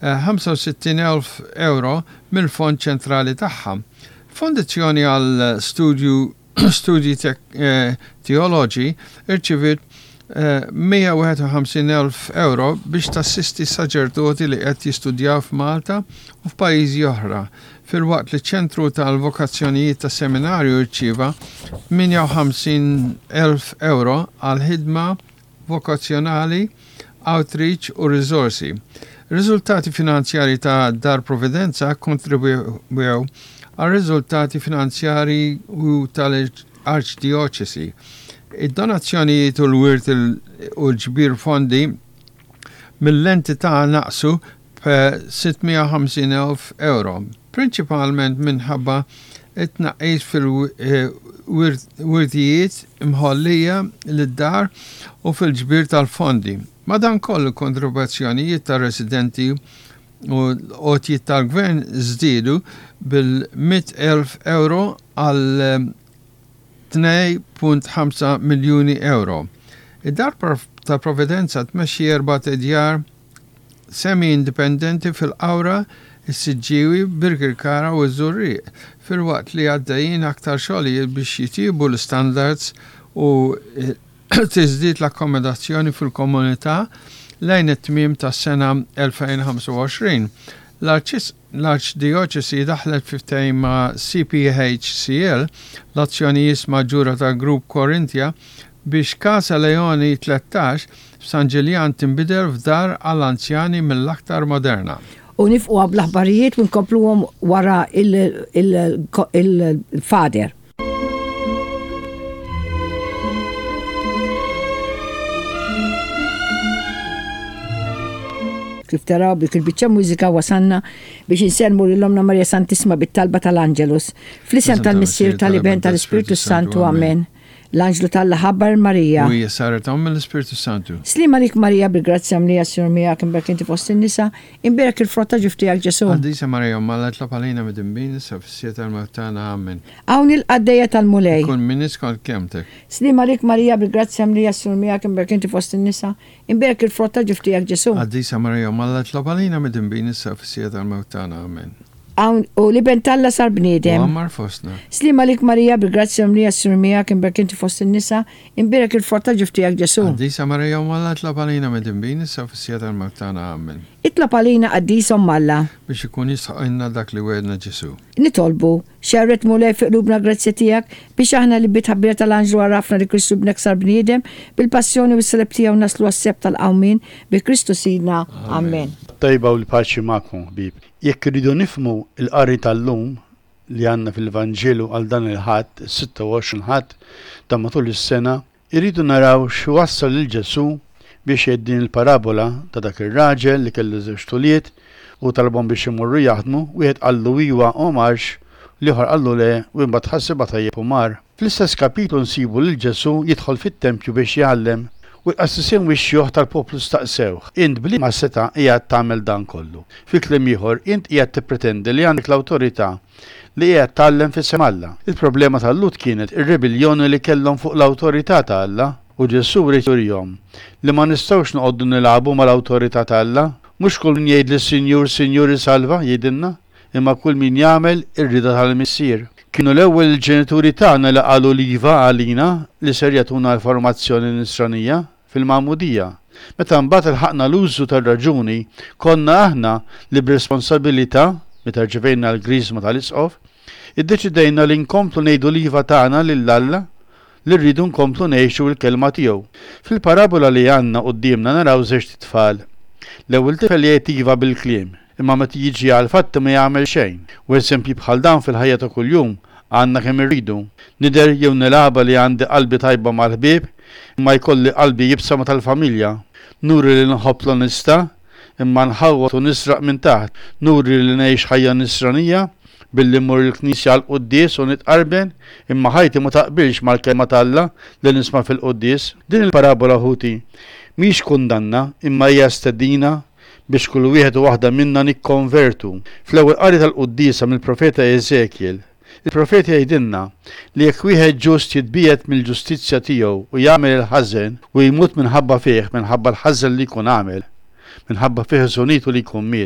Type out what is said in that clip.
65,000 ewro mill-fond ċentrali tagħha. Fondizzjoni għal studju studji teoloġi rċiviet 151,000 ewro biex tassisti saċerdoti li qed jistudjaw f'Malta u f'pajjiżi oħra, filwaqt li ċ-Ċentru tal-Vokazzjonijiet tas-Seminarju rċieva 58,000 ewro għal ħidma vokazzjonali, outreach u riżorsi. Riżultati finanzjarji ta' Dar Providenza kkontribwew għar-riżultati finanzjarji u tal-Arċdjoċesi. Id-donazzjonijiet u l-wirt u l-ġbir fondi mill-entità naqsu b'650,000 ewro, prinċipalment minħabba t-tnaqqis fil-wirtijiet imħollija lid-dar u fil-ġbir tal-fondi. Madankollu, kontribuzzjonijiet tar-residenti u l-għotjiet tal-gvern żdiedu bil-100,000 ewro għal 2.5 miljuni ewro. Id-Dar tal-Providenza tmexxi erbat idjar semi-indipendenti fil-Qawra, is-Siġġiewi, Birkirkara u ż-Żurrieq, filwaqt li għaddejjin aktar xogħlijiet biex jitjiebu l-istandards u tiżdied l-akkomodazzjoni fil-komunità lejn it-tmiem tas-sena 2025. L-Arċdijoċesi daħlet fi ftehim ma' CPHCL, l-azzjonist maġġura tal-Grupp Corinthia, biex Casa Leoni 13 f'San Ġiljan tinbidel f'dar għall-anzjani mill-aktar moderna. U nifqu bl-aħbarijiet u nkompluhom wara il-Father. Kif taraw b'dik il-biċċa mużika wasalna biex insellmu lil Ommna Marija Santissima bit-talba tal-Angelus. Fl-isem tal-Missier, tal-Iben, tal-Ispirtu Santu. Amen. L-anġlu t'Alla ħabbar 'l Marija. U hija saret omm mill-Ispirtu Santu. Sliem għalik Marija bil-grazzja mlija s-Sinjur miegħek imberk inti fost in-nisa, imbierek il-frott ta' ġuf tiegħek Ġesù. Qaddisa Marija Omm Alla itlob għalina midinbin issa fis-siegħa tal-mewt tagħna. Amen. Hawn il-qaddejja tal-Mulej. Ikun minni skont kelmtek. Sliem għalik Marija bil-grazzja mlija s-Sinjur miegħek imberk inti fost in-nisa, imbierek il-frott ta' ġuf tiegħek Ġesù. Qaddisa Marija Omm Alla itlob għalina midinbin issa fis-siegħa tal-mewt tagħna. Amen. Hawn, u l-Iben t'Alla sar bniedem. U għammar fostna. Sliem għalik Marija, bil-grazzja mimlija s-Sinjur miegħek, imbierek inti fost in-nisa, imbierek il-frott ta' ġuf tiegħek Ġesù. Qaddisa Marija Omm Alla itlob għalina midinbin issa u fis-siegħa tal-mewt tagħna. Amen. Itlob għalina Qaddisa Omm Alla. Biex ikun jistħoqqilna dak li wegħedna Ġesù. Nitolbu, Xerred Mulej fi qlubna l-grazzja tiegħek, biex aħna li bit-tħabbira tal-anġlu għarafna li Kristu Ibnek sar bniedem, bil-passjoni u s-salib tiegħu naslu għas-sebħ tal-qawmien, bi Kristu Sidna. Amen. It-tejba u l-paċi magħkom, ħbieb. Jekk irridu nifhmu l-qari tal-lum li għandna fil-Vanġelu għal dan il-Ħadd, is-26 Ħadd ta' matul is-sena, irridu naraw x'wassal lil Ġesù biex jgħid din il-parabola ta' dak ir-raġel li kellu żewġt ulied u talabhom biex imorru jaħdmu, wieħed qallu iwa u ma marx, l-ieħor qallu le u imbagħad ħasibha tajjeb u mar. Fl-istess kapitlu nsibu lil Ġesù jidħol fit-tempju biex jgħallem, u l-qassisin u x-xjuħ tal-poplu staqsewh, Int b'liema setgħa qiegħed tagħmel dan kollu? Fi kliem ieħor, int qiegħed tippretendi li għandek l-awtorità li qiegħed tgħallem f'isem Alla. Il-problema tal-Lhud kienet ir-ribelljoni li kellhom fuq l-awtorità ta' Alla, u Ġesù ried jurihom li ma nistgħux noqogħdu nilagħbu mal-awtorità ta' Alla. Mhux kull min jgħidli Sinjur, Sinjur isalva, jgħidilna. imma kull min jagħmel ir-rieda tal-Missier. Kienu l-ewwel il-ġenituri tagħna li qalu l-iva għalina li ser jagħtuna l-formazzjoni nisranija fil-magħmudija. Meta mbagħad ilħaqna l-użu tar-raġuni, konna aħna li b'responsabilità, meta rċevejna l-griżma tal-Isqof, iddeċidejna li nkomplu ngħidu l-iva tagħna lil Alla li rridu nkomplu ngħixu l-kelma tiegħu. Fil-parabola li għandna quddiemna naraw żewġt itfal. L-ewwel tifel jgħid iva bil-kliem, imma meta jiġi għall-fatti ma jagħmel xejn. U eżempji bħal dawn fil-ħajja ta' kuljum għandna kemm irridu. Nidher jew nilgħabha li għandi qalbi tajba mal-ħbieb, imma jkolli qalbi iebsa ma' tal-familja. Nuri li nħobb l-onestà, imma nħawwad u nisraq minn taħt. Nuri li ngħix ħajja nisranija, billi mmur il-knisja għall-quddies u nitqarben, imma ħajti ma taqbilx mal-Kelma t'Alla li nisma' fil-quddies. Din il-parabola, ħuti, mhix kundanna, imma hija stedina biex kull wieħed u waħda minna nikkonvertu. Fl-ewwel qari tal-quddiesa mill-profeta Eżekjel, il-profeta jgħidilna li jekk wieħed ġust jitbiegħed mill-ġustizzja tiegħu u jagħmel il-ħażen u jmut minħabba fih, minħabba l-ħażen li jkun għamel, minħabba fi ħżunitu li jkun miet.